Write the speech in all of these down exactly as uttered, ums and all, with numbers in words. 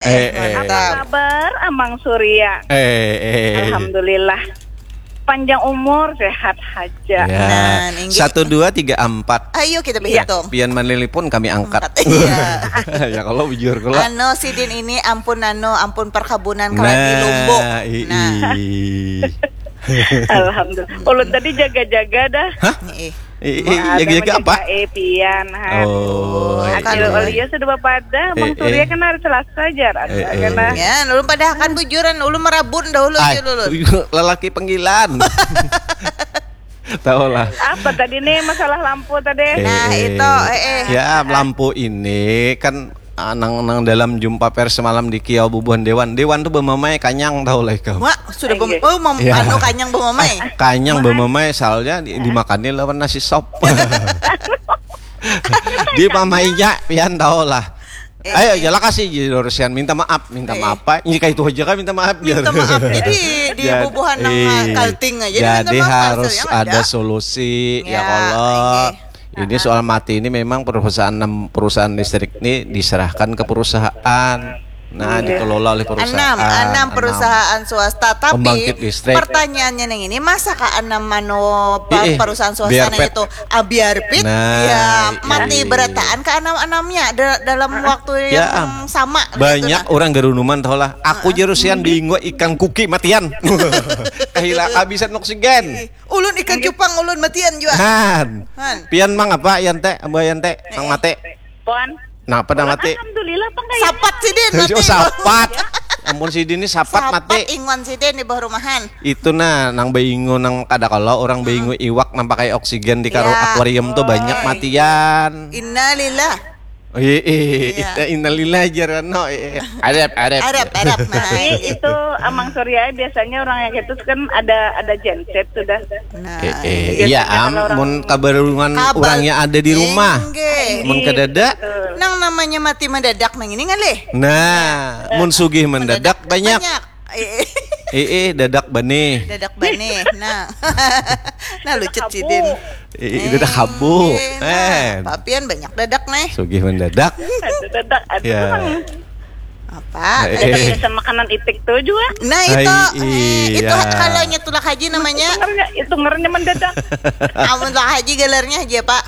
Eh, eh. Apa kabar, Amang Surya? Eh, eh. Alhamdulillah. Panjang umur, sehat haja. Ya. Nah, inggih. Satu, dua, tiga, empat. Ayo kita berhitung. Pian manelpon, kami angkat. Angkat, iya. Ya, kalau bujur kula. Anu, sidin ini ampun, anu, ampun perkebunan kalau di Lumbung. Nah, ii. Nah. Alhamdulillah. Ulun tadi jaga-jaga dah. Hah? Ih. Eh, eh, jaga-jaga apa? Eh, pian, han. Oh, hasil iya. Olio sudah bapadah, Mang Surya kan hari Selasa jar, ada kan lah. Ya, ulun padahakan bujuran, ulun marabun dahulu. Ay, ulun. Lelaki panggilan. Tahu lah. Apa tadi nih masalah lampu tadi? Eh, nah, eh. Itu, eh, eh. Ya, lampu ini kan ah, nang, nang dalam jumpa pers semalam di Kiau bubuhan Dewan. Dewan tu bemamai kanyang tahu lah ikam. Wah, sudah bem- oh, mem- anu kanyang bemamai. Kanyang bemamai soalnya di, dimakannya lawan nasi sop. Di pamainya pian tahu lah. Eh. Ayo, jala kasih Dorsian minta maaf, minta maaf apa? Ini kayak itu aja kan minta maaf. Minta maaf. Jadi di bubuhan nang kalting aja. Jadi harus ada solusi ya kalau. Ini soal mati ini memang perusahaan perusahaan listrik ini diserahkan ke perusahaan. Nah, dikelola oleh perusahaan. Enam, enam perusahaan swasta. Tapi pertanyaannya yang ini, masa ka enam anu perusahaan swasta itu abiar pit? Nah, ya, mati berataan ke enam-enamnya dalam waktu yang sama. Banyak orang garunuman tahu lah. Aku jerusian bingung ikan kuki matian. Kehilangan habisan oksigen. Ulun ikan cupang, ulun matian jua. Han. Han. Pian mang apa, Yante? Ambo Yante, mang mate. Puan. Napa nang mate? Alhamdulillah, pang kaya. Sapat sidin mate. Sapat. Ampun sidin ni sapat mate. Sapat inguan sidin di bawah rumahan. Itu nah, nang baingu nang kada kalo, orang baingu iwak nang pakai oksigen di karo akuarium tu banyak matian. Innalillah. Ih, ih, innalillah jar anu, ih. Arep, arep. Arep, arep, nah. Tapi itu Amang Surya biasanya orang yang itu kan ada ada genset sudah. Nah. Eh, eh, iya am, mun kabarungan orang yang ada di rumah. Mun kadada, nang namanya mati mendadak nang ini ngalih. Nah, mun sugih mendadak banyak. Banyak. Eh, eh, dadak banih. Dadak banih. Nah. Nah, lucut sidin. Eh, dadak habu. Eh, nah, papian banyak dadak nih. Sugih mendadak. Ada dadak, ada ya. Apa? Eh, eh. Biasa makanan itik tuh juga. Nah, itu. Eh, itu iya. Kalau nya tulak haji namanya. Itu ngernya, itu ngernya mendadak. Amun tulak haji galarnya haji apa?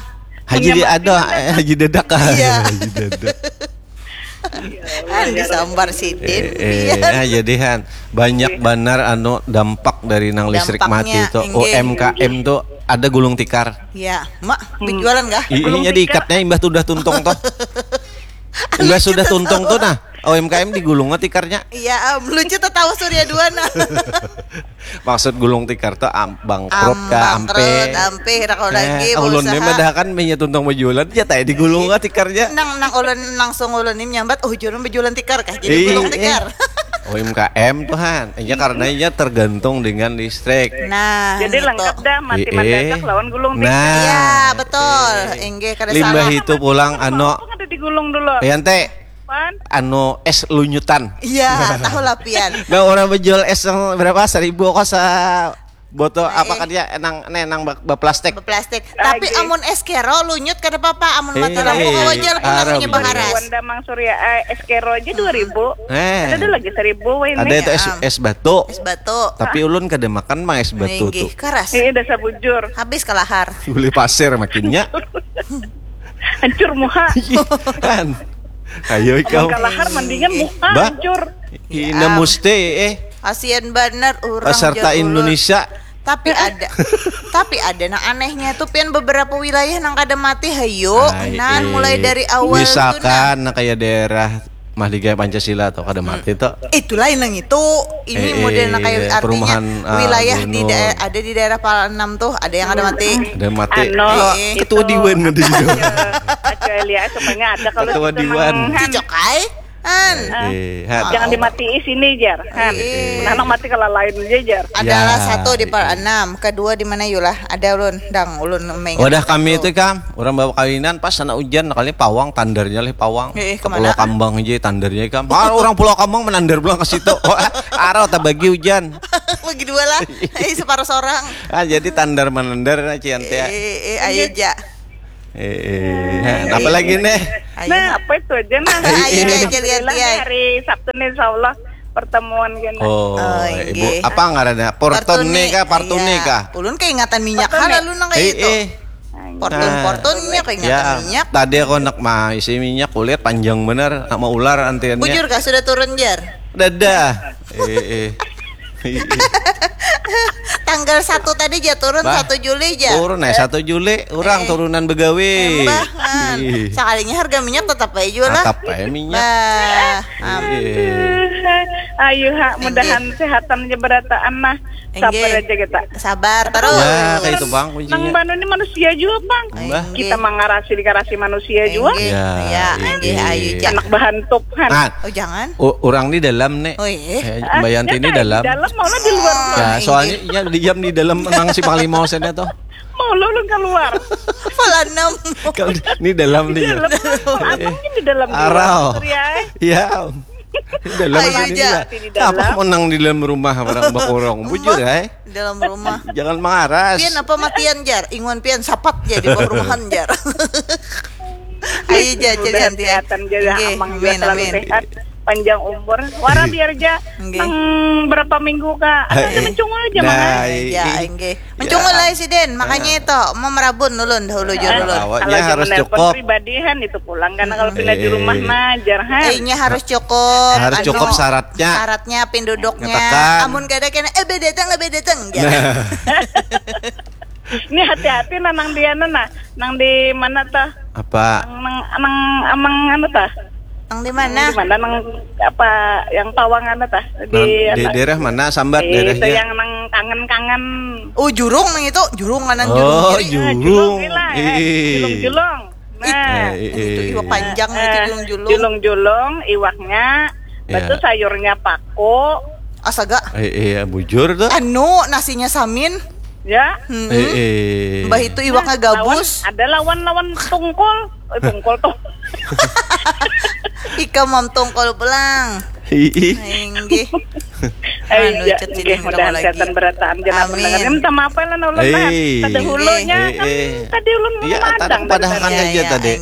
Haji di ada, eh, haji dadak. Iya. Haji dadak. Ah, disambar sidin. Eh, eh, nah, jadi han banyak banar anu dampak dari nang listrik mati itu. U M K M tuh ada gulung tikar. Ya, mak berjualan kah? Ininya diikatnya imbah sudah tuntung tuh. Imbah sudah tuntung tuh nah, U M K M digulung tikarnya. Iya, um, lucu tetawa Surya dua nah. Maksud gulung tikar tuh am, bangkrut kah, ampe? Ampe, ira kau lagi. Ulun ni madahakan minyak tuntung bajualan ja tai digulung kah tikarnya. Nang nang ulun langsung ulun ni menyambat, oh jualan bajualan tikar kah jadi gulung tikar. U M K M tuh han, iya karena iya tergantung dengan listrik. Nah, jadi lengkap dah mati mendadak lawan gulung tikar. Nah, iya betul. Inggih kada salah. Limbah itu pulang anu. Apa kada digulung dulu? Iya ante. Anu es lunyutan. Iya, tahu lah pian. Nah, orang menjual es yang berapa? Seribu kok sa botol apa kan ya enang enang baplastik. Baplastik. Tapi amun es kero lunyut kada apa-apa, amun mata lampu wajar pun namanya bakaras. Wanda Mang Surya eh, es kero aja dua ribu. Eh. Ada lagi seribu wah ini. Ada itu es es batu. Es batu. Tapi ulun kada makan mang es batu tuh. Keras. Ini dasar bujur. Habis kalahar. Boleh pasir makinnya. Hancur muha. Kan. Ayo ikam. Kalahar mendingan muha hancur. Ina musti eh. Kasian banar urang. Peserta Indonesia. Tapi ada. Tapi ada nang anehnya tuh pian beberapa wilayah nang kada mati hayo. Nan mulai dari awal tuh. Misalkan nah kayak daerah Mahligai Pancasila atau kada mati tuh. Itu lain nang itu. Ini eh, model nang kayak eh, artinya perumahan, ah, wilayah di daerah ada di daerah Pal enam tuh ada yang ada mati. Ada mati. Anu, eh, ketua itu, dewan ada juga. Kecuali ya semuanya ada kalau ketua dewan. Cocok ai. An. Eh, eh, jangan dimatii sini jar. Han. Eh. Nah, nang mati kalau lain aja jar. Adalah ya, satu di Pal enam, kedua di mana yulah? Ada ulun, dang ulun mengingat. Wadah kami itu kam. Orang bawa kawinan pas sana hujan kali pawang tandarnya leh pawang. Eh, eh, ke Pulau Kambang aja tandarnya ikam. Ah, orang Pulau Kambang menandar pulang ke situ. Oh, arau tak bagi hujan. Bagi dua lah. Eh, separuh seorang. Ah, jadi tandar menandar nah cian teh. Eh, eh, ayo ja. Eh, eh, apa lagi nih? Nah, apa itu aja nah. Ayo, ayo, ayo, Alhamdulillah, hari Sabtu nih, insya Allah pertemuan gini. Oh, oh, ibu, apa ngarannya? Portone kah? Partune kah? Ulun keingatan minyak lalu nang kayak itu. Eh, eh. Portun-portunnya kok ingat ya, minyak. Tadi aku nak mah isi minyak, kulit panjang bener, nak mau ular antiannya. Bujur kah sudah turun, Jar? Dadah. Eh, eh. Tanggal satu tadi aja turun, satu Juli aja. Turun eh satu Juli, orang eh. Turunan begawe. Mbah, sekalinya harga minyak tetap aja lah. Tetap aja minyak. Bah, aduh. Ayo ha, mudahan sehatan aja berataan lah. Sabar aja kita. Sabar terus. Ya, kayak itu bang kuncinya. Nang banu ini manusia juga bang. Mbah. Kita mangarasi dikarasi manusia juga. Ya, ya, ya, ayo anak bahan tuh kan. Nah, oh jangan. U- orang di dalam nih. Oh iya. Eh, Mbak Yanti ini dalam. Di dalam mau di luar. Oh, ya, soalnya iya di jam di dalam menang si Panglima Hussein itu. Mau lo lu keluar. Falanem. Kalau ini dalam nih. Di dalam. Aku ini di dalam. Arau. Iya. Dalam ayo aja. Apa menang di dalam rumah orang bakurung? Bujur ya? Di dalam rumah. Jangan mengaras. Pian apa matian jar? Inguan pian sapat jadi bakuruhan jar. Ayo aja jadi kesehatan aja ya, amin, amin. Sehat, panjang umur. Wara biar aja nang berapa minggu kak. Ada mencungul aja nah, mana? Ya, enggak. Mencungul lah si Den, makanya itu mau merabun ulun dahulu jur ulun. Kalau nya harus cukup pribadihan itu pulang karena kalau pindah di rumah mah jarhan. Eh, nya harus cukup. Harus cukup syaratnya. Syaratnya pinduduknya. Amun kada kena eh bedatang eh bedatang. Ini hati-hati nah nang di anu nah, nang di mana tah? Apa? Nang nang amang anu tah? Nang di mana? Di mana nang apa yang pawang anu tah? Di, di daerah mana? Sambat daerahnya. Itu yang nang kangen-kangen. Oh, jurung nang itu, jurung kanan jurung oh, kiri. Jurung. Ah, jurung, jurung. Nah, eh, eh, itu iwak panjang eh, itu julung-julung. Julung-julung, iwaknya, ya. Betul sayurnya paku. Asaga. Eh, iya, bujur tuh. Anu, nasinya samin. Ya. Hmm. Eh, eh. Mbah itu iwaknya nah, gabus. Lawan, ada lawan-lawan tungkol. Eh, tungkol tuh. Ika mam tungkol pulang. Inggih. Anu cat sidin mudah lagi. Setan berataan jangan mendengar. Minta maaf lah ulun lah. Kada hulunya kan tadi ulun memadang padahal kan aja tadi.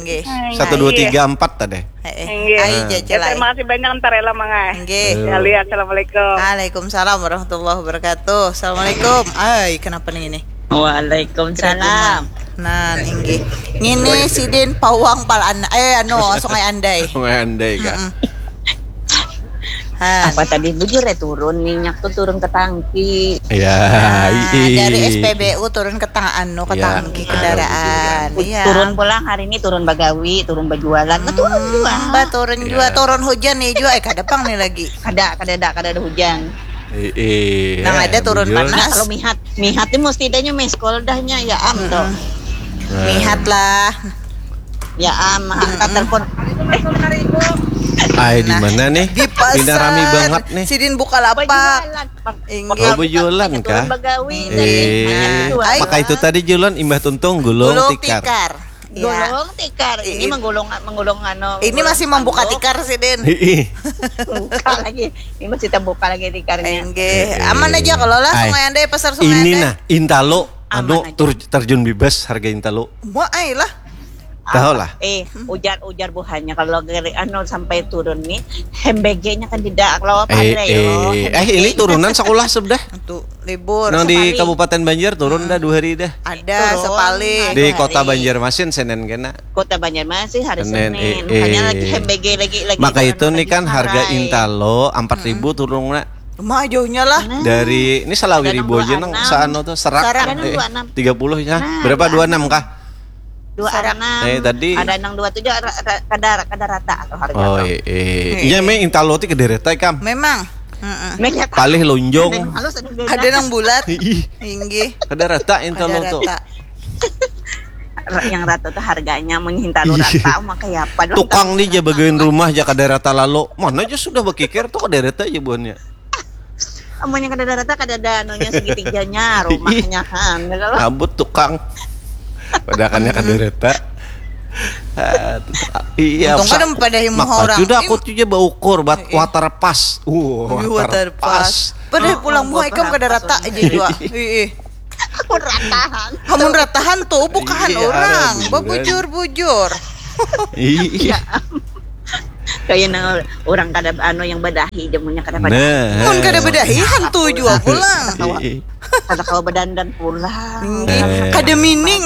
Satu dua tiga empat tadi. Inggih. Terima kasih banyak antar ela mangai. Inggih. Assalamualaikum. Waalaikumsalam warahmatullahi wabarakatuh. Assalamualaikum. Ai, kenapa nih ini? Waalaikumsalam. Nah, inggih. Ngini sidin pawang pal an eh anu Sungai Andai. Sungai Andai kah? Apa tadi bujur ya turun minyak tuh turun ke tangki. Ya, nah, dari S P B U turun ke tang anu ke ya, tangki kendaraan. Iya. Turun pulang hari ini turun bagawi, turun berjualan, hmm, turun juga. Mbak turun ya. Juga, turun hujan nih juga. Eh kada pang nih lagi. Kada, kada ada, kada ada hujan. Eh, eh, nah, ada turun bujur. Panas. Kalau mihat, mihat ini mesti adanya meskol dahnya ya am tuh. Nah. Mihat lah. Ya am, angkat telepon. Ay, di mana nih? Di pasar. Ini rami banget nih. Sidin buka lapak. Inggih. Oh, berjualan kah? Eh, maka itu tadi jualan imbah tuntung gulung, gulung tikar. Tikar. Ya. Gulung tikar. Ini menggulung menggulung anu. Ini masih membuka tikar sih, Din. Buka lagi. Ini masih terbuka lagi tikarnya. Enggih. Aman aja kalau lah Sungai Andai pasar Sungai Andai. Ini nah, intalo anu terjun bebas harga intalo. Wah, ai lah. Tahu lah. Eh, ujar ujar buhannya kalau geri anu sampai turun nih, hembegenya kan tidak kalau apa eh, eh, eh, ini turunan sekolah sudah. Tuh, libur. Nang di Kabupaten Banjar turun dah dua hari dah. Ada sekali. Di Kota Banjarmasin Senin kena. Kota Banjarmasin hari Senin. Senin. Eh, eh. Makanya lagi hembege lagi lagi. Maka itu nih kan harga intalo empat ribu turun nak. Rumah jauhnya lah. Nah. Dari ini salawi ribu aja nang saano tuh serak. Serak. Eh, tiga puluh ya. Nah, berapa dua enam kah? Dua enam. Eh tadi. Ada nang dua tujuh kada kada rata atau harga. Oh, iya. Iya, me intalo ti kada rata ikam. Memang. Palih lonjong. Ada nang bulat. Inggih. Kada rata intalo tuh. Yang rata tuh harganya menghintalo rata maka ya apa tukang nih aja bagain rumah aja kada rata lalu mana aja sudah berkikir tuh kada rata aja buahnya. Amunnya kada ada rata kada ada anunya segitiganya rumahnya han. Abut tukang. Padahal kada rata. Iya, untung kada pada himuha orang. Sudah aku tuh baukur bat water pas. Uh, water pas. Padahal pulang muha ikam kada rata aja jua. Heeh. Pun ratahan. Hamun ratahan tuh bukahan orang. Babujur-bujur. Iya. Kayak nang orang kada anu yang badahi, jamunya kada pada. Nah. Mun kada badahi hantu jua pulang. Ih, Kada kawa badandan pulang. Inggih. Kada mining.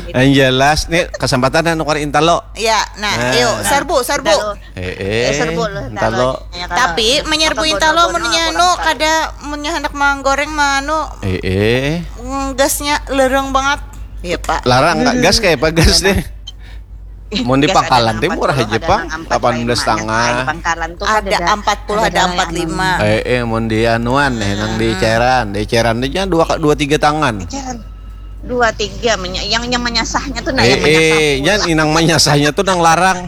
Yang jelas nih kesempatan anu kari intalo. Ya, nah, Nah. ayo sarbu, sarbu. Intalo. Eh, eh. Eh, serbu lah, Intalo. Ya, kalau Tapi menyerbu apa intalo bodoh-bodoh mun nya aku nu orang kada mun nya handak manggoreng manu Eh, eh. mm, gasnya lereng banget. Iya, Pak. Larang nggak gas kayak apa gas nih? Mau di Gas pangkalan ada teh murah empat puluh, aja ada pang, empat puluh delapan belas lima. setengah. Nah, di pangkalan tuh kan Ada empat puluh, ada yang empat lima. Eh, eh, mau di anuan nih, nang di cairan, di cairan aja dua dua tiga tangan. Eceran. Dua tiga menya- yang yang menyasahnya tuh nah Eh, yang menyasah eh, pula. Yang inang menyasahnya tuh nang larang.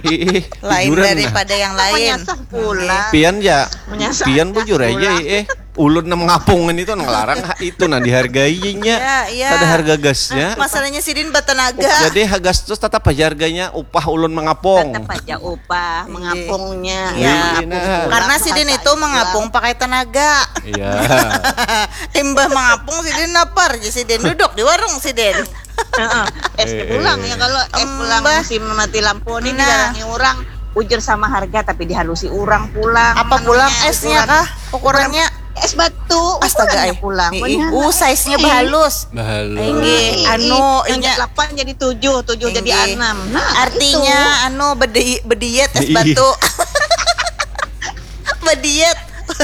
Eh, eh, Lain jujuran, nah. Daripada yang lain. Menyasah pula. Pian ya, Menyasah pian bujur aja, pula. Eh, eh. Ulun nang ngapungan itu nang larang, ha, itu nah dihargai nya. Iya, iya. Ada harga gasnya. Masalahnya sidin bertenaga. Jadi gas tuh tetap aja harganya upah ulun mengapung. Tetap aja upah mengapungnya. Iya, Ya, nah. Karena sidin itu mengapung pakai tenaga. Iya. Imbah mengapung sidin lapar, jadi sidin duduk di warung sidin. Heeh. Es Eh, pulang eh. Ya kalau es pulang Embah. Musim mati lampu ini Nah. Didatangi orang, ujar sama harga tapi dihalusi orang pulang. Apa Anunya, pulang esnya ukuran- kah? Ukurannya Es batu. Astaga, Ukurannya eh. Pulang. Ih, Bener. Uh, size-nya Ih. Bahalus. Bahalus. Inggih, Ih, anu yang inya delapan jadi tujuh, tujuh jadi Inggih. Enam. Nah, Artinya anu bedi bediet es Ih. Batu. Bediet.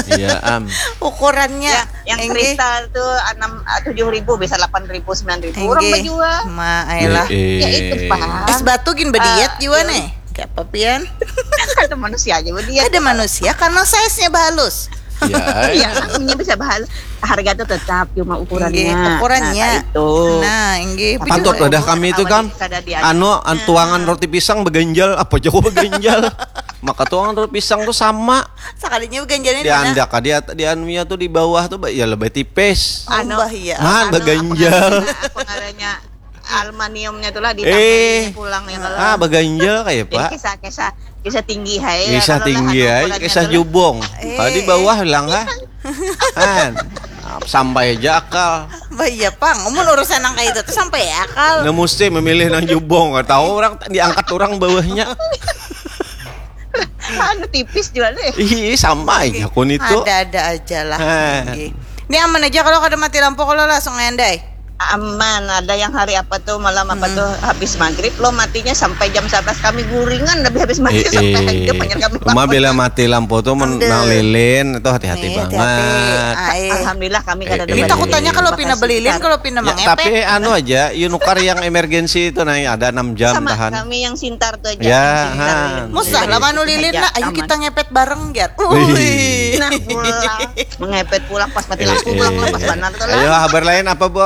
Iya, am. Ukurannya. Ya, yang Inggih. Kristal tuh enam, tujuh ribu, bisa delapan ribu, sembilan ribu orang Inggih. Menjual. Ma, ayolah. Eh, eh. Ya itu, Pak. Es Batu gin bediet Ah, jua iya. Nih. Kayak apa pian? Ada manusia aja dia. Ada manusia karena size-nya bahalus. Ya, Iya, namanya bisa bahas harga tuh tetap, cuma ukurannya. Inggih, ukurannya. Nah, itu. Nah, inggih. Pantut Betul. Dah kami itu kan Kada diadu. Anu an- tuangan roti pisang beganjal. Apa coba beganjal? Maka tuangan roti pisang tuh sama. Sakalinya beganjalnya Di andak di at- di anunya tuh di bawah tuh ba- ya lebih tipis. Anu, bah, iya. Nah, Anu, beganjal. Apa ngarannya aluminiumnya tuh lah Eh. Ditambahin pulang ya kalau. Ah, beganjal kayak Jadi Pak. Kisah-kisah kisah tinggi hai. Kisah tinggi hai, kisah jubong. Eh. Tadi bawah hilang kan? Kan sampai aja akal. Bah, iya pang, mun urusan nang kayak itu tuh sampai ya akal. Nah mesti memilih nang jubong, tahu orang diangkat orang bawahnya. Anu tipis juga deh. Ih, sama aja kun itu. Ada-ada aja lah. Hah. Inggih. Ini aman aja kalau kada mati lampu kalau langsung ngendai. Aman, ada yang hari apa tuh malam apa tuh habis maghrib lo matinya sampai jam sebelas kami guringan lebih habis mati Eh, sampai eh. jam panjang kami Cuma bila mati lampu tuh men- Ambil. Nang lilin itu hati-hati Nih, banget. hati-hati. Ah, eh. Alhamdulillah kami Eh, kada ada eh. Ini balik. Takutnya kalau Makasih pina belilin, kita. Kalau pina Ya, mengepek. Tapi anu aja, you nukar yang emergency itu nah ada enam jam Sama tahan. Kami yang sintar tuh aja. Ya, Yang sintar ha. yang Musah sintar lah itu manu lilin aja, lah, ayo aman. Kita ngepet bareng jar. Wih. Nah, pulang mengepet pulang pas mati Eh, lampu pulang eh. Lepas mana tuh lah. Ayo, kabar lain apa, Bu?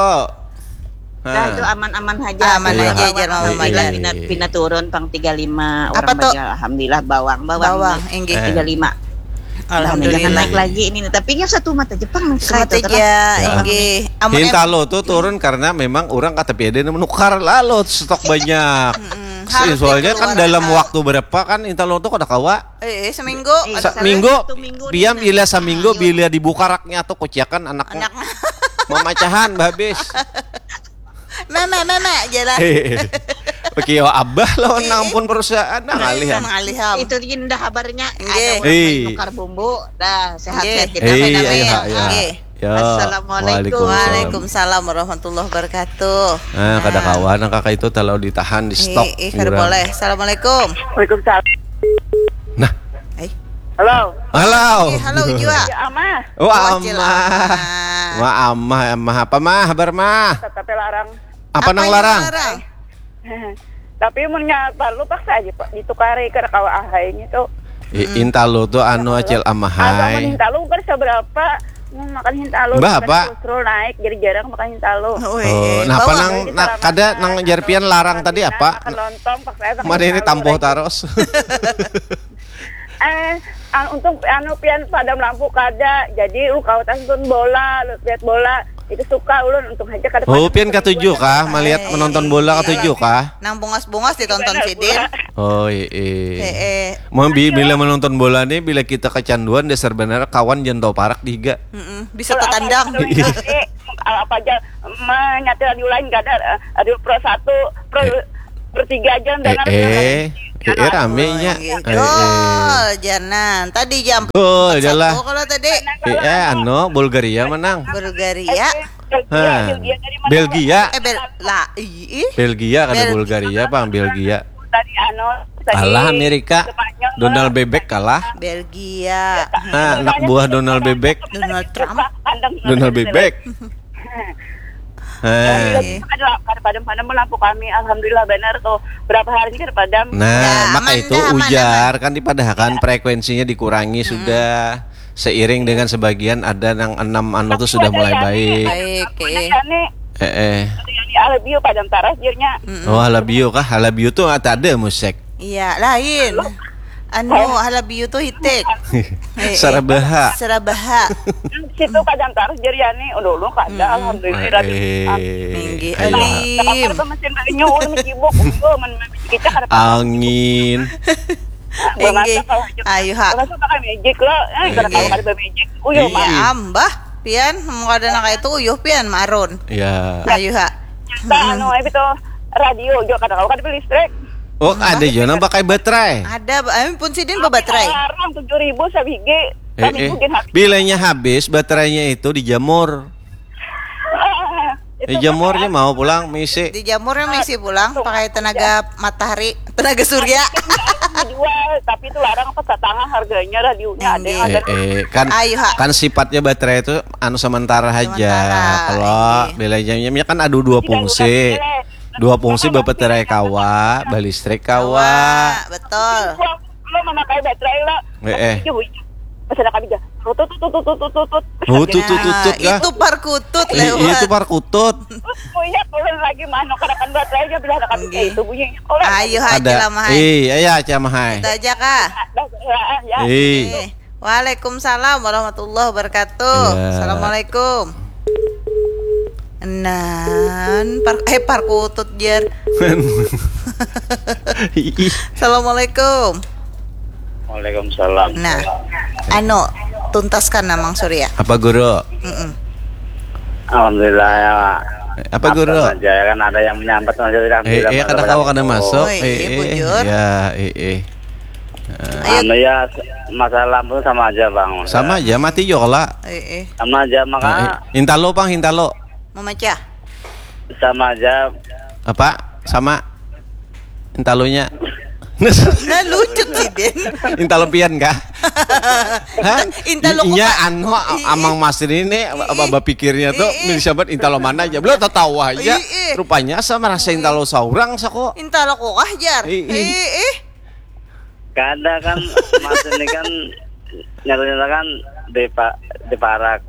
Nah, itu aman-aman aja. Aman Iya. aja, jar, Mama Alhamdulillah, Madan. pina, pina turun pang tiga lima Apa orang tuh? Baja, alhamdulillah bawang, bawang. Bawang, inggih. Eh. Tiga lima. Alhamdulillah. Jangan naik lagi ini, tapi yang satu mata Jepang nih. Semata Kayak itu, aja, Ya. inggih. Amun em- Hintalo tuh turun karena memang orang kata piada menukar lalu stok banyak. Mm-mm. Soalnya kan Keluar dalam akal. Waktu berapa kan Hintalo tuh kada kawa. Eh, eh, seminggu. Eh, Sa- salah minggu, satu minggu pian nih, bila nah. Seminggu Ayo. Bila dibuka raknya tuh kuciakan anaknya. Anak. Mamacahan babis. Meme, meme, jelas. Oke, yo abah lawan Eh, nang pun perusahaan nah ngalih ya. Ngaliham. Itu indah kabarnya. Nggih. Ada orang Eh. Main nukar bumbu. Dah, sehat-sehat Nggih. kita. Eh, Amin, iya, amin. iya. Nggih. Ya. Assalamualaikum. Waalaikumsalam. Waalaikumsalam warahmatullahi wabarakatuh. Nah, kada kawan nang kakak itu kalau ditahan di stok. Ih, ih, kada boleh. Assalamualaikum. Waalaikumsalam. Nah, Eh, Halo. halo. eh, halo jua. Ya, Amah. Wah, Wacil amah. amah. Wah, amah, amah apa mah? Habar mah. Tetap larang. Apa nang yang larang? larang? Tapi mun nya perlu paksa aja Pak ditukari kada kawa ahai gitu. I- Intalu tuh anu acil amahai. Hintalu kan seberapa? Mau makan hintalu. Mbah, Kan apa? Kolesterol naik jadi jarang makan hintalu. Oh, Oh, eh, nah, apa bawang. nang nah, kada nang jar pian larang tadi apa? Makan lontong paksa sama Mana ini hintalu, tampuh Rek. Taros? Eh, an- untung anu pian padam lampu kada. Jadi lu kau tonton bola, lu lihat bola. Itu suka ulun untung aja kada Oh, padam pian lampu. Katuju kah melihat Eh, menonton bola iya. Katuju kah? Nang bungas-bungas ditonton Benar, sidin. bola. Oh, iya. Eh, eh. Mau bi- bila menonton bola nih bila kita kecanduan dasar benar kawan jangan tahu parak dihiga. Mm-mm. Bisa tatandang. Iya. apa aja, menyati radio lain gak ada, eh, radio Pro satu, Pro, Eh. Pro tiga aja yang Eh, dengar, eh. Eh, eh, rame nya. Nggih. Eh, eh. Gol, janan. Tadi jam Gol, empat satu jalan. Kalau tadi. Eh, eh, anu, Bulgaria menang. Bulgaria. Eh, eh, Belgia, Hah. Belgia dari mana? Belgia. Eh, Bel-, lah, ih, ih. Belgia, kada Belgia. Bulgaria, pang, Belgia. Tadi, anu, tadi Alah, Amerika. Spanyol, Donald Bebek kalah. Belgia. Nah, anak buah Donald Bebek. Donald Trump. Kandang Donald Bebek. Heh. Alhamdulillah, kada, kada padam-padam lampu kami. Alhamdulillah, benar tuh. Berapa hari ini kada padam. Nah, Ya, maka aman itu dah, aman, ujar, aman. Kan dipadahakan frekuensinya dikurangi sudah. Seiring dengan sebagian ada nang enam anu tuh sudah mulai baik. Baik, eh. Ada Yani. Eh, eh. Ada Yani, I love you, padam taras, jirnya. Mm-mm. Oh, I love you kah? I love you tuh ada musik. Iya, lain. Anu, Oh. I love you tuh hitik. Eh, eh. Sarabaha. Sarabaha. Situ padam taras, jir Yani. Udah, udah, kada, Hmm. alhamdulillah. Eh, eh. Minggih, Ayo. Alim. Kalau mesin banyu, ulun sibuk. Udah, men-, men-, kita kada apa-apa. Angin. Inggih. Ayu, ha. Masa pakai magic lo? Eh, kada tahu kada magic. Uyuh, iya, Mak. Ambah, pian, mun kada nang kaya itu uyuh pian, marun. Ya. Ayu, ha. Nah, anu, eh, itu radio juga kada tahu kada beli listrik. Oh, ada juga nang pakai baterai. Ada, ba-, eh, pun sidin babaterai. Larang tujuh ribu sabigi. Eh, eh. Bilanya habis, baterainya itu dijamur. Dijamurnya mau pulang, misi. Dijamurnya misi pulang, pakai tenaga matahari, tenaga surya. Dijual, tapi itu larang apa satangah harganya radionya, ada yang Inggih. Eh, eh, kan, Ayu, ha. Kan sifatnya baterai itu anu sementara aja. Sementara, kalau inggih. Bilanya kan ada dua fungsi. Dua fungsi babaterai kawa, balistrik kawa. Kawa, betul. Lo memakai baterai lo. Eh, eh. Iya, Bu. Pesan kami dah. Tutut, tutut, tutut, tutut. Tutut, tutut, tutut, Nah, kah? Itu parkutut I-, lewat. Itu parkutut. Terus punya turun lagi, mah, nukarakan baterai aja, bila ada kami Nggih. Kayak itu bunyinya. Ayo, hai, Ada. Ceramah, hai. Iya, iya, ceramah, hai. Kita aja, kah? Dah, dah, ya. Iya. Eh, Waalaikumsalam warahmatullahi wabarakatuh. Iya. Assalamualaikum. Nan, par-, eh, parkutut, jar. Ih. Assalamualaikum. Waalaikumsalam. Nah, anu, tuntaskan, Amang Surya. Apa, Guru? Mm-mm. Alhamdulillah, ya. Apa, Guru? Apa saja, ya kan, ada yang menyambat saja, tidak Eh, tidak eh, kada masalah kawa, kada itu. Masuk. Oi, Eh, iya, eh, bujur. Ya, eh, eh. Ayo. Anu, ya, masalah lampu sama aja, Bang. Sama aja, mati juga lah. Eh, eh. Sama aja, maka Eh, eh. Hintalo, Bang, hintalo. Memecah. Sama aja. Apa? Sama. Intalunya. Nah, lucu sih, Den. Intalo pian kah? Hah? Intalo Inya kupa- anu, I-, i-, Amang Masri ini, i-, apa, i-, bapikirnya tuh, i-, i-, ini sahabat intalo mana aja. Belum tahu aja. I-, i-, Rupanya sama rasa intalo saurang, sako. Intalo kukah, jar. I-, i-, I-, i-, Kada kan, Mas ini kan nyata-nyata kan di pa-, di parak.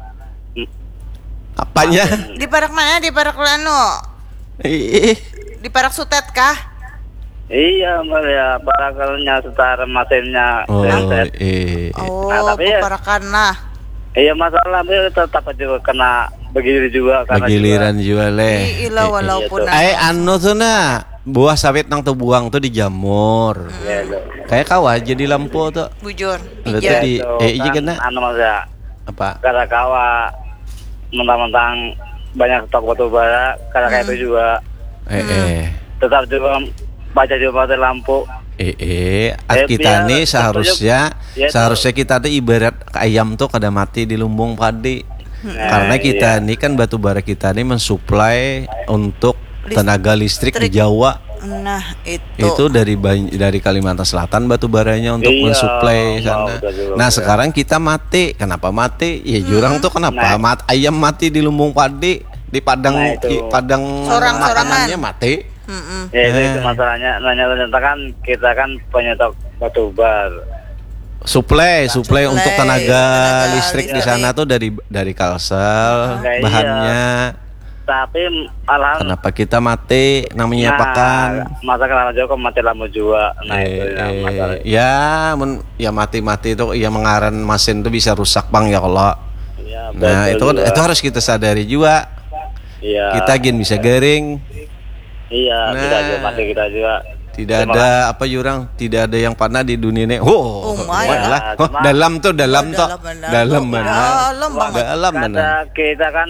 Apanya? Di parak mana? Di parak lanu? Ih. Di parak sutet kah? Iya, Mbak, ya, parak kalau nya setara mesinnya Oh, genset. Iya. Oh, nah, tapi ya, peparakan lah. Iya, masalah, tapi tetap aja kena begilir juga, karena Begiliran juga. Juga, leh. Ih, ilah, walaupun Iya, tuh. Ai, anu tuh, nah. Buah sawit nang tebuang tuh dijamur. Hmm. Iya, iya. Kayak kawa jadi lampu tuh. Bujur. Berarti Iya. Di, Itu eh, iya kan kena. Anu, Mas, ya. Apa? Kada kawa mentang-mentang banyak stok batu bara, kada kayak Hmm. itu juga. Eh, Hmm. eh. Tetap juga baca juga pakai lampu. Eh, eh. Eh, kita biar nih tetap seharusnya, juga. Iya, tuh. Seharusnya kita tuh ibarat ayam tuh kada mati di lumbung padi. Nah, karena kita iya. Ini kan batu bara kita nih mensuplai untuk List-, tenaga listrik di Jawa. Nah, itu. Itu dari Ban-, dari Kalimantan Selatan batu baranya untuk Iya, mensuplai mau sana. Betul juga. Nah, sekarang kita mati. Kenapa mati? Ya, jurang Mm-mm. tuh kenapa Nah. mat-, ayam mati di lumbung padi, di padang, Nah, itu. Di padang Sorang-sorangan. Makanannya mati. Mm-mm. Ya, itu, itu Eh. Masalahnya. Nanya ternyata kan kita kan penyetok batu bar. Suplai, suplai Suplai untuk tenaga tenaga listrik di listrik. Sana tuh dari, dari Kalsel, Nah, iya. Bahannya. Tapi, alham- Kenapa kita mati, namanya Nah, pakan? Masa kenapa juga mati lampu jua? Nah, Eh, itu yang eh, masalah. Ya, mun, ya mati-mati itu, ya mengaran mesin itu bisa rusak, Bang, ya kalau. Iya, Nah, betul itu kan, juga. Itu harus kita sadari juga. Iya. Kita gin bisa garing. Iya, Nah. Kita juga mati kita juga. Tidak Terima ada kasih. Apa jurang, tidak ada yang panah di dunia ini. Oh, Oh my. Lah. Ya, cuma Dalam tuh, dalam Oh, tuh. Dalam benar. Dalam benar. Dalam banget. Dalam benar. Kada kita kan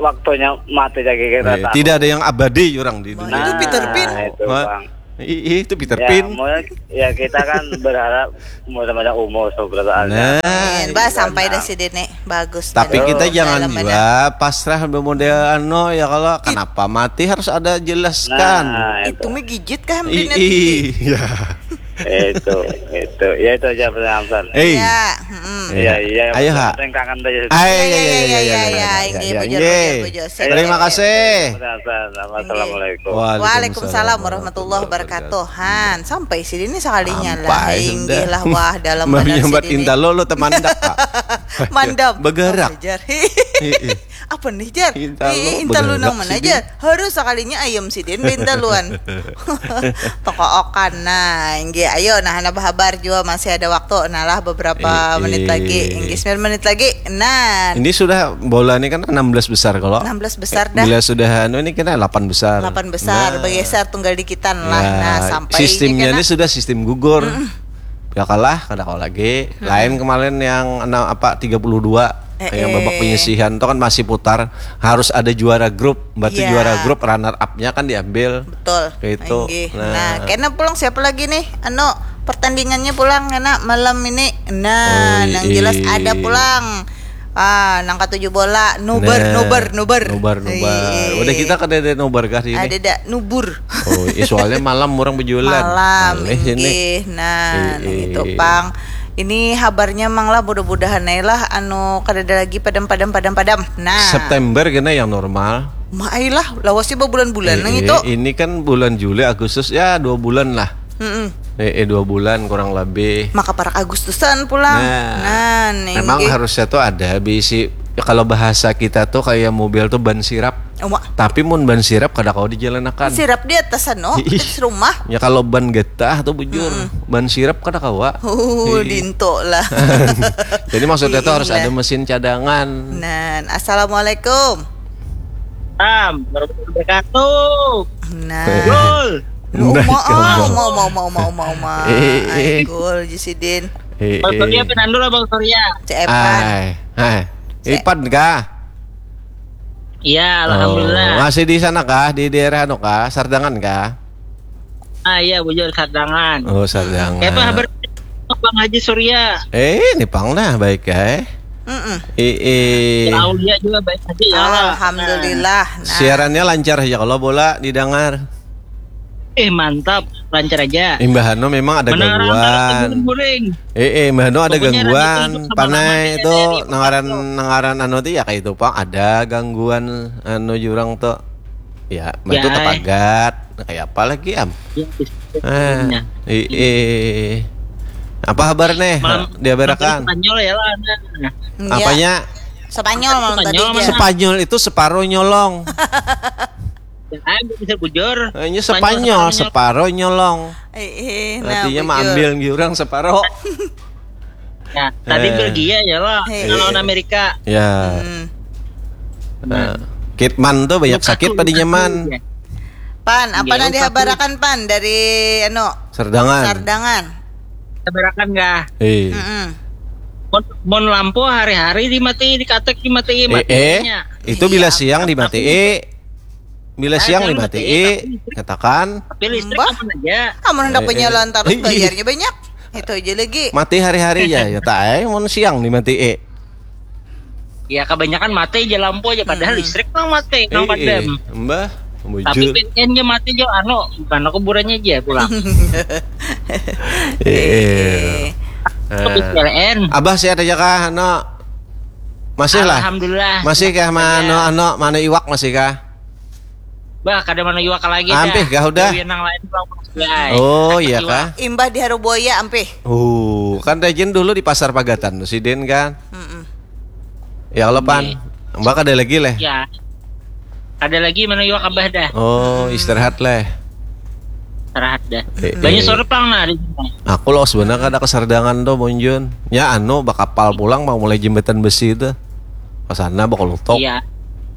waktunya mati lagi kita. Eh, tidak ada yang abadi orang di dunia. Itu Peter Pan. Nah, itu, Bang. Ih, itu Peter Pan. Ya, ya, kita kan berharap mudah-mudahan umur seberapa ada. Nah, bah, sampai dah sidin nih. Bagus. Tapi kita jangan juga pasrah model anu ya, kalau kenapa mati harus ada jelaskan. Nah, itu mah gigit kah? Iya. Itu, itu. Ya, itu aja pertanyaan. Eh. Ya, mm. Iya, iya. Ayo, ha. Kangen aja. Iya, iya, iya, iya, iya, iya, iya, iya, bujur, bujur, bujur. Terima kasih. Assalamualaikum. Waalaikumsalam warahmatullahi wabarakatuh. Han, sampai sini sekalinya lah. Inggih lah, wah, dalam badan sidin. Intalu lo teman dak, Kak? Mandam. Bergerak. Apa nih, Jar? Intalu nang mana, Jar? Harus sekalinya ayam sidin bentaluan. Toko okan. Nah, inggih, ayo, nah, hana bahabar jua, masih ada waktu. Nah lah, beberapa menit lagi. Inggih, sembilan menit lagi. Nah. Ini sudah bola ini kan enam belas besar kalau. Enam belas besar dah. Bila sudah anu ini kena delapan besar. Delapan besar, nah, bergeser tunggal dikitan lah. Ya, nah, sampai sistemnya ini sudah sistem gugur. Ya kalah, kada kalah lagi. Lain kemarin yang enam apa tiga puluh dua yang babak penyisihan itu kan masih putar, harus ada juara grup, berarti juara grup runner up-nya kan diambil. Betul. Gitu. Nah, kena pulang siapa lagi nih? Anu, pertandingannya pulang kena malam ini. Nah, yang jelas ada pulang. Ah, nang katuju bola, nubar, nubar, nubar. Nubar, nubar. Udah kita kada ada nubar kah ini? Ada dak nubur. Oh, iya, soalnya malam orang berjualan. Malam, inggih. Nah, itu pang. Ini habarnya mang lah, mudah-mudahan ai lah anu kada ada lagi padam, padam, padam, padam. Nah. September kena yang normal. Ma ai lah, lawasnya babulan-bulan nang itu. Ini kan bulan Juli, Agustus, ya dua bulan lah. Mm-mm. Eh, eh, dua bulan kurang lebih. Maka parak Agustusan pulang. Nah, memang harusnya tuh ada bisi, ya, kalau bahasa kita tuh kayak mobil tuh ban sirap. Tapi mun ban sirap kada kawa dijalanakan. Sirap di atas anu, atas rumah. Ya kalau ban getah tuh bujur, ban sirap kada kawa. Uh, dinto lah. Jadi maksudnya tuh harus ada mesin cadangan. Nah, assalamualaikum. Salam warahmatullahi wabarakatuh. Nah. Gol. Uma, uma, uma, uma, uma, uma, uma. Ai, gol ji sidin. Bang Surya, pinandu lah Bang Surya. Cepat. Ai, ai. Ipan kah? Iya, alhamdulillah. Masih di sana kah? Di daerah anu kah? Sardangan kah? Ah, iya, bujur, Sardangan. Oh, Sardangan. Apa kabar Bang Haji Surya? Eh, ini pang nah, baik ya. Mm-mm. Eh, eh. Ya, Aulia juga baik aja ya. Alhamdulillah. Nah. Siarannya lancar aja kalau bola didengar. Eh, mantap, lancar aja. Imbahano memang ada gangguan. Eh, eh, imbahano ada gangguan. Panai itu nangaran, nangaran anu tuh ya kayak itu pang, ada gangguan anu jurang tuh. Ya, itu tapagat. Nah, kayak apa lagi, Am? Ya, eh, eh. Apa kabar nih? Diabarakan. Spanyol ya lah. Apanya? Spanyol malam tadi. Spanyol itu separuh nyolong. Ya, bisa bujur. Ini Spanyol, separuh nyolong. Eh, eh, nah, artinya mah ambil orang separuh. Ya, tadi Belgia ya lah, lawan Amerika. Ya. Hmm. Nah, Kitman tuh banyak sakit padinya man. Pan, apa nanti habarakan pan dari anu? Sardangan. Sardangan. Habarakan kah? Eh. Mon, mon lampu hari-hari dimati, dikatek dimati, eh, eh, itu bila siang dimati, eh. Bila siang dimati, katakan. Tapi listrik aman aja. Kamu hendak penyaluran tarus bayarnya banyak. Itu aja lagi. Mati hari-hari ya, ya tai, mun siang nih mati, eh. Ya, kebanyakan mati aja lampu aja, padahal listrik nang mati, nang padam. Mbah, tapi P L N nya mati aja, anu, karena kuburannya aja pulang. Eh, eh. Habis P L N. Abah sehat aja kah, anu? Masih lah. Alhamdulillah. Masih kah, mano, anu, mano iwak masih kah? Bah, kada mana iwak lagi dah. Ampih kah udah? Gawian nang lain pulang, Bang. Oh, iya kah? Imbah di Haru Buaya, ampih. Uh, kan rajin dulu di Pasar Pagatan tuh sidin kan? Mm-mm. Ya Allah, pan. Mbak kada lagi leh. Ya. Kada lagi mana iwak abah dah. Oh, istirahat leh. Istirahat dah. Eh, banyak eh. Sore pang nah di sini. Aku los bener kada ke Sardangan tuh, Bonjun. Ya, anu, bakapal pulang mau mulai jembatan besi itu. Ke sana bakal lutok. Iya.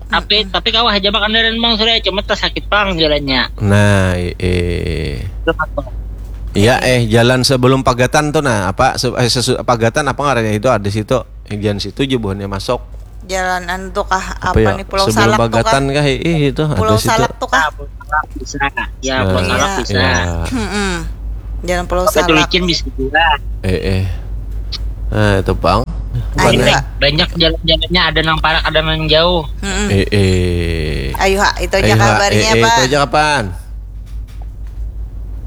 Tapi, tapi kawah aja makan dari Bang Surya, cuma tas sakit pang jalannya. Nah, eh. Iya, eh, jalan sebelum Pagatan tuh, nah, apa, se-, eh, sesu-, Pagatan apa ngarannya itu, ada situ. Eh, jalan situ aja buhannya masuk. Jalan anu tuh kah, apa, apa ya, nih, Pulau Salak tuh kah? Kah? Ih, itu Pulau ada situ. Salak tuh kah? Ah, Pulau Salak bisa. Ya, Pulau Salak bisa. Iya. Mm-mm. Jalan Pulau Salak. Pakai tulicin bisa juga. Eh, eh. Nah, itu, Bang. Ayo, banyak, banyak jalan-jalannya, ada nang parak, ada nang jauh. Mm-mm. Eh, eh. Ayo, ha, itu aja kabarnya, eh, eh, Pak. Itu aja kapan?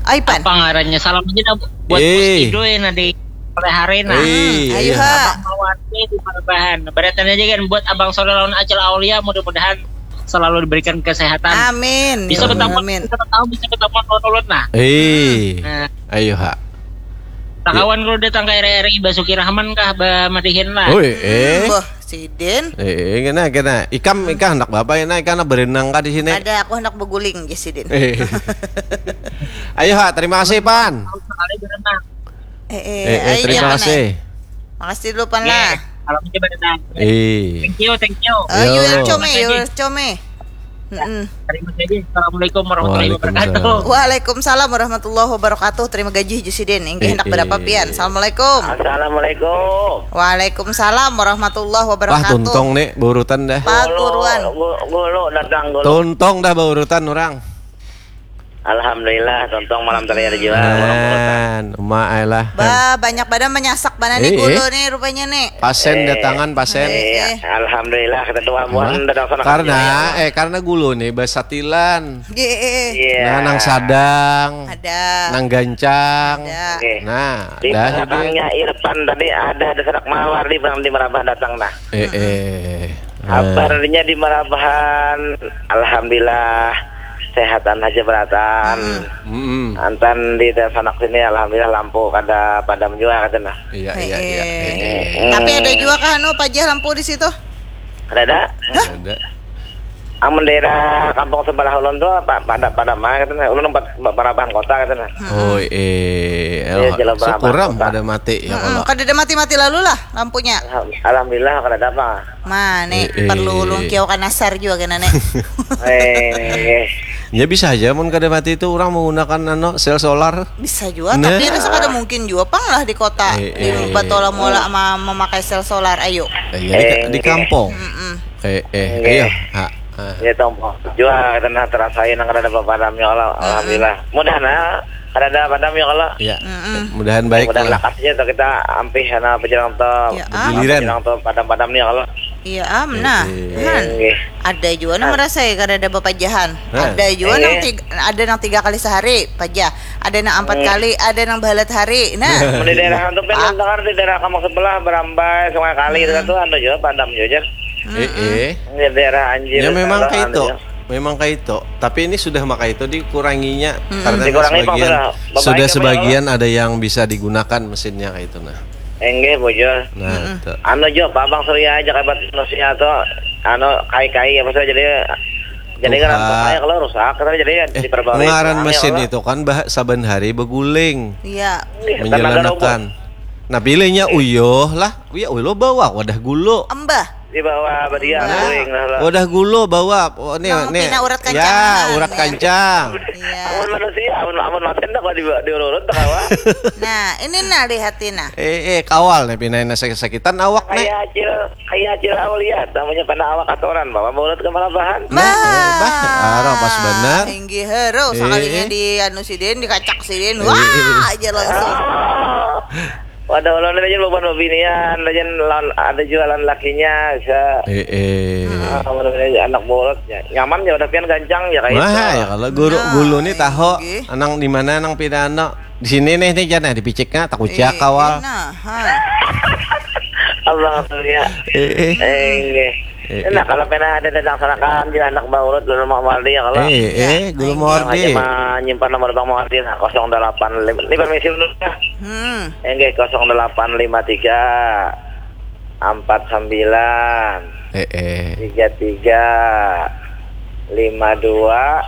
Ai, Pan. Apa ngarannya? Salam aja dah buat Bos Idoy, nah, di sore hari, nah. Ayo, iya. Ha. Abang Mawar di Marabahan. Beratan aja kan buat Abang Sore lawan Acil Aulia, mudah-mudahan selalu diberikan kesehatan. Amin. Bisa bertemu, amin. Bisa bertemu, bisa bertemu lawan ulun, nah. Eh. Nah. Ayo, ha. Kawan kalau datang ke R R I Basuki Rahman kah, ba madihin lah. Oi, eh. Hmm, boh. Sidin. Eh, kena, kena. Ikam, ikam hendak bapa, nah, ikam hendak berenang kah di sini? Ada, aku hendak beguling, ya, Sidin. Eh. Ayo, ha, terima kasih, Pan. Sekali berenang. Eh, eh, eh, eh, ayo, terima kasih. Makasih dulu, Pan, lah. Salam aja berenang. Eh. Thank you, thank you. Oh, you welcome, you welcome. Mm-mm. Terima kasih. Assalamualaikum warahmatullahi wabarakatuh. Waalaikumsalam. Waalaikumsalam warahmatullahi wabarakatuh. Terima gaji, Jusidin. Inggih, hendak berapa pian? Assalamualaikum. Assalamualaikum. Waalaikumsalam warahmatullahi wabarakatuh. Wah, tuntong nih, baurutan dah. Paguruan. Gulu, gulu, datang gulu. Tuntong dah baurutan orang. Alhamdulillah, tuntong malam tadi ada jua. Nah, uma ai lah. Bah, banyak banar manyasak banar nih gulu nih rupanya nih. Pasen datangan, pasen. Eh, eh. Alhamdulillah, kita tuh amuan datang sana. Karena, eh, karena gulu nih basatilan. Iya. Nah, nang sadang. Ada. Nang gancang. Ada. Oke. Nah, di dah, belakangnya Irfan tadi ada, ada sanak mawar di, di Merabah datang, nah. Eh, eh. Nah. Kabarnya di Merabahan, alhamdulillah, sehatan aja beratan. Mm-mm. Antan di sanak sini, alhamdulillah, lampu kada padam jua, kata, nah. Iya, iya, iya. Eh, eh. Eh, eh. Tapi ada jua kah, anu, pajah lampu di situ? Kada ada. Hah? Kada ada. Amun daerah kampung sebelah ulun tu, pa-, pada, pada ma, katanya. Ulun umpat ba-, barabahan kota, katanya. Mm-mm. Oh, eh, iya, alha-, jelas barabahan kota. Syukur am kada mati, ya, mm-mm, kalo. Kada ada mati-mati lalu lah lampunya. Alham-, alhamdulillah, kada ada apa. Ma, nih, eh, perlu eh, ulun kiau kanasar jua kena, nih. Eh, eh. Ya, bisa aja, mun kada mati itu, orang menggunakan, anu, sel solar. Bisa jua, nah, tapi rasa kada mungkin jua pang lah di kota, eh, di eh, batola muala ma-, memakai sel solar, ayo. Eh, ya, di ka-, eh, di kampung. Mm-mm. Eh, eh, oke. Ayo, ha, ha. Ya, tompok jua, kita nah terasai nang kada ada padam, ya Allah. Mm-mm. Alhamdulillah. Mudahan, ah, kada ada padam, ya Allah. Ya, mm-mm, mudahan baik lah. Mudahan lakas aja tuh kita ampih, karena apa jalan tuh, ya, am, apa jalan tuh padam-padam, ya Allah. Iya, am, nah, eh, eh, han. Oke. Ada jua nang merasa ya kada ada bapajahan. Nah. Ada jua nang, eh, tig-, ada nang tiga kali sehari pajah, ada nang ampat, hmm, kali, ada nang bahalat hari. Nah. Mun di daerah antum, Pak, pendengar di daerah kampung sebelah, Berambai, Sungai Kali, hmm, itu tuh anu jua, padam jua, jar. Mm-mm. Eh, eh. Di daerah Anjir, ya, memang kayak itu. Anu jua. Memang kayak itu. Tapi ini sudah maka itu dikuranginya, mm-mm, karena dikurangi, sebagian, sudah sebagian ada yang bisa digunakan mesinnya kayak itu, nah. Enggih, bujur. Nah, mm-mm, itu. Anu jo, Pak Bang Surya aja kabat manusia tuh, anu, kai-kai apa sih, jadi, jadi kan rusak. Kayak kalau rusak, kan jadi, eh, diperbarui ngaran ulang, ya, mesin kalau itu kan bah-, saban hari beguling. Iya. Iya, menyelanakan. Tenaga robot. Nah, pilihnya, iya, uyuh lah. Iya, uyuh lo bawa wadah gulu. Embah. Di bawah badia, nah, guring lah, lah. Wadah gulu bawa. Oh, nih, nang nih. Pina urat kancang, ya, nah, urat, ya, kancang. Iya. Amun manusia, amun, amun macan dah kalau di, diurut-urut, tak kawa. Nah, ini nah, lihat ini, nah. Eh, eh, kawal nih, pina ini sakit-sakitan awak nih. Kayak Acil, kayak Acil Aulia, namanya pina awak atoran, bawa mulut ke malabahan. Nah, eh, bah, arah pas benar. Inggih, hero, eh, sekalinya eh, di anu sidin, dikacak sidin. Eh, eh, eh. Wah, aja langsung. Oh. Wadah ulun ni, lain bubuhan bebinian, lain lawan, ada jua lawan lakinya, bisa. Eh, eh. Ah, anak bulut, ya. Nyaman, ya, wadah pian gancang, ya, kayak itu. Wah, ya, kalau gulu, nah, gulu ni tahu, inggih, nang di mana, nang pina, anu, di sini nih, nih, jar, nah, di piciknya, tak kuciak, eh, kawal. Nah, ha. Abang Surya. Eh, eh. Eh, inggih. Eh, nah, eh, kalau pina ada datang sanakan, di anak baurut, lalu mau mandi, ya, kalau. Eh, ya, eh, gulu, inggih, mau di. Aja menyimpan nomor Bang Muardi, nah, kosong delapan lima. Ini permisi dulu, ya. Hmm. Enggih, kosong delapan lima tiga, empat sembilan, eh, eh, tiga tiga, lima dua,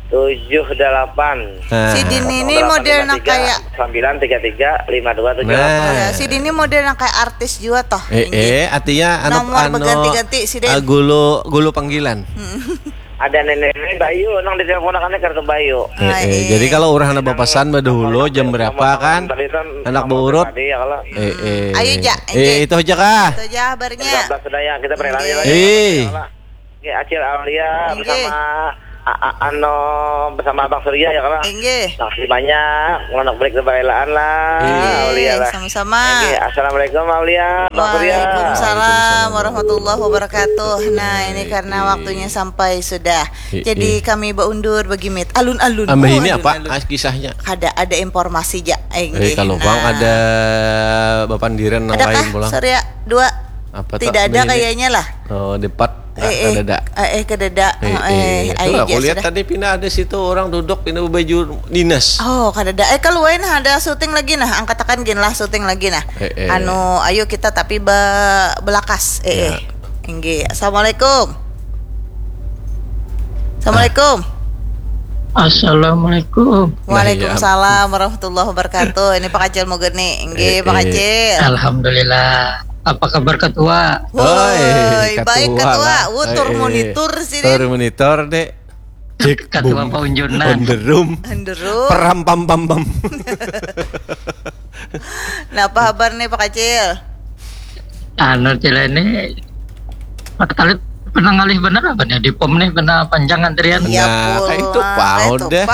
tujuh delapan. Nah. Sidin ini model nang kayak sembilan tiga tiga lima dua tujuh delapan. Nah. Ya, sidin ini model nang kayak artis jua toh. Eh, inggih, eh, artinya anu, nomor anu, beganti-ganti sidin. Ah, gulu, gulu panggilan. Hmm. Ada nenek-nenek Bayu nang diteleponakannya kartu Bayu. Eh, eh, jadi kalau orang ada bapasan badahulu jam berapa kan? Anak beurut. Eh, eh. Ayo, Jak. Eh, itu aja kah? Itu aja kabarnya. Sudah ya, kita berlari lagi. Eh. Oke, Acil Aulia bersama a- a- ano bersama Abang Surya ya kalau. Inggih. Makasih banyak, mau balik kebaelaan lah, Aulia lah. Sama-sama. Inggih, assalamualaikum Aulia, Bang Surya. Waalaikumsalam warahmatullahi wabarakatuh. Nah, ini karena waktunya sampai sudah. Jadi kami baundur bagimit alun-alun. Ambah ini apa? Ah, kisahnya. Ada ada informasi, Jak. Eh, kalau bang ada bapandiran nang lain pulang. Surya dua. Apa? Tidak ada kayaknya lah. Oh, depat. Eh, eh, kedada. Eh, eh, kedada. Eh, eh, eh, aku lihat tadi pina ada situ orang duduk pina baju dinas. Oh, kedada. Eh, kalau lain ada syuting lagi nah, angkatakan gin lah syuting lagi nah. Eh, eh. Anu, ayo kita tapi be belakas. Eh, eh. Inggih. Assalamualaikum. Assalamualaikum. Assalamualaikum. Waalaikumsalam warahmatullahi wabarakatuh. Ini Pak Kacil Mugeni. Inggih, Pak Kacil. Alhamdulillah. Apa kabar ketua? Woi, baik ketua. Wuh, tur monitor sih. Tur monitor, Dek. Cek ketua paunjunan. On the room. On the room. Peram pam pam pam. Nah, apa kabar nih Pak Kacil? Anu cila ini Pak Talib pernah ngalih bener apa nih di pom nih pernah panjang antrian. Ya, nah, kayak itu pau deh.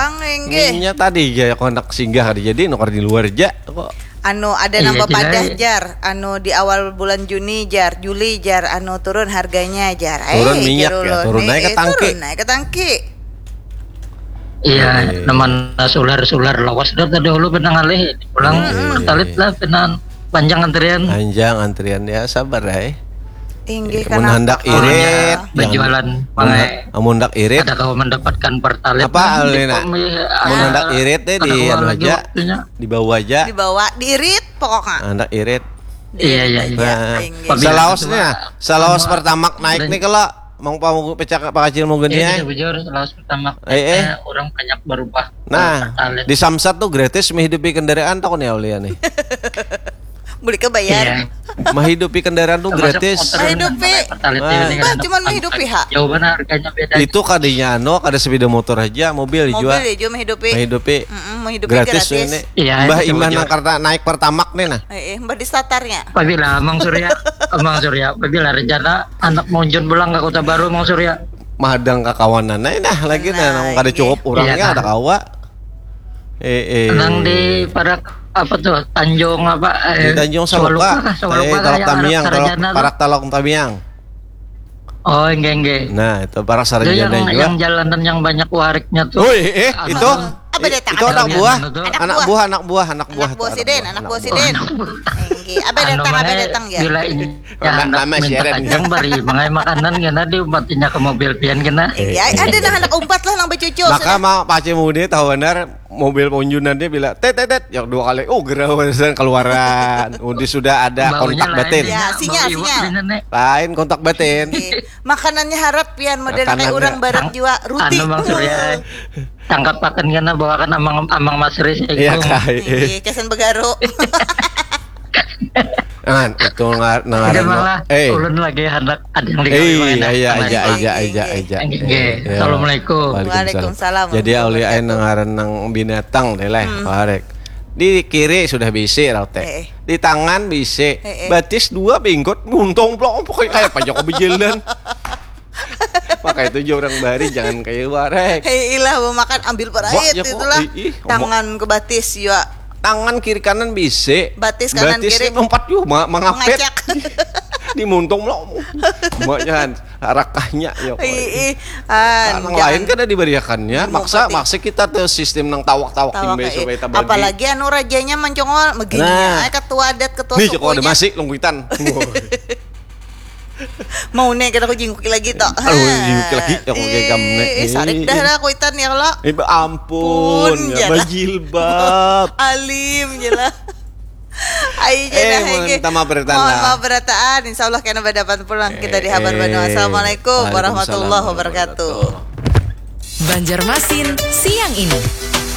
Minyak tadi ya konak singgah tadi jadi nukar di luar aja kok. Anu ada nambah padah jar, anu di awal bulan Juni jar, Juli jar, anu turun harganya jar. Turun eh, minyak ya, turun naik ke tangki. Turun naik ke tangki. Iya, nama sular-sular lawas dah tadi dulu pernah ngalih pulang hmm, talit iya. Lah pernah panjang antrian. Panjang antrian ya sabar ya. Inggih mun hendak irit berjualan. Mun hendak irit ada kau mendapatkan pertalit. Apa alina? Mun hendak irit deh di anu aja. Dibawa aja. Dibawa diirit pokoknya. Hendak irit. Iya iya iya. Nah, salawas nih, salawas pertama naik nih kalau Mang Pamugu pecah Pak Kacil Mugen ya. Iya, bujur, lawas pertama. Eh, eh. Orang banyak berubah. Nah, di Samsat tuh gratis menghidupi kendaraan tau nih Aulia nih. Beli ke bayar. Iya. Menghidupi kendaraan tuh gratis. Menghidupi. Bah, cuman menghidupi ha. Jauh mana harganya beda. Itu kadinya anu, kada sepeda motor aja, mobil dijual. Mobil dijual menghidupi. Menghidupi. Mm -mm, menghidupi gratis. Gratis ini. Iya, bah imah nang karena naik pertamak nih nah. Eh, eh, bah di satarnya. Pabila Mang Surya, Mang Surya, pabila rencana anak monjun pulang ke Kota Baru Mang Surya. Mahadang kakawanan aja nah lagi nah, nah nang kada cukup orangnya ada kawa. Eh, eh. Nang di parak apa tuh Tanjung apa? Eh, di Tanjung Saluka. Eh, Talok Tamiang, Parak Talok Tamiang. Oh, enggak enggak. Nah, itu parak sarjana juga. Yang jalanan yang banyak wariknya tuh. Oh, eh, itu. Apa datang? Itu anak buah. Anak buah, anak buah, anak buah. Anak buah siden, anak buah siden. Apa datang? Apa datang ya? Bila ini nama siaran. Yang bari mangai makanan kena diumpatinya ke mobil pian kena. Iya, ada nah anak umpat lah nang becucuk. Maka mau pace mude tahu benar mobil ponjunan dia bila tet tet tet yang dua kali oh gerawasan keluaran. Udah sudah ada kontak batin. Ya, sinyal sinyal. Lain kontak batin. Makanannya harap pian model kayak orang barat jua ruti. Anu Mang Surya. Tangkap pakan kena bawakan amang amang Mas Riz ya. Iya kai. Iya kesan begaru. Nah, itu ngar nangaran eh ulun lagi hendak ada yang digawe eh, iya iya aja aja aja aja. Assalamualaikum. Waalaikumsalam. Jadi aulia ain nangaran nang binatang deh leh. Warek. Di kiri sudah bisi rau teh. Di tangan bisi. Batis dua bingkot nguntong plong pokoknya kayak apa Joko bejelan. Maka itu juga orang bari jangan kayak warek. Hei ilah mau makan ambil parait itulah. Tangan ke batis ya. Tangan kiri kanan bisa. Batis kanan batis kiri. Empat juga ma mangapet. Di muntung lo. Makanya rakahnya ya. Ih, ah, lain kan diberiakannya. Maksa maksa kita tuh sistem nang tawak-tawak timbe eh. Supaya tabagi. Apalagi anu rajanya mencongol begini nah. Ya. Ketua adat ketua sukunya. Nih, masih lungkuitan. Mau nih kita aku jingkuki lagi toh. Aduh, jingkuki lagi aku kayak kamu nih. Eh, sarik dah lah kuitan ya lo. Eh, ampun, ya bajilbab. Alim ya lah. Ayo eh, mohon maaf berataan. Mohon maaf berataan. Insya Allah kena berdapat pulang kita di habar eh, Bandung. Assalamualaikum warahmatullahi wabarakatuh. Banjarmasin siang ini.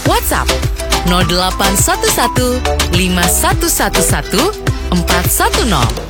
WhatsApp nol delapan satu satu lima satu satu satu empat satu nol.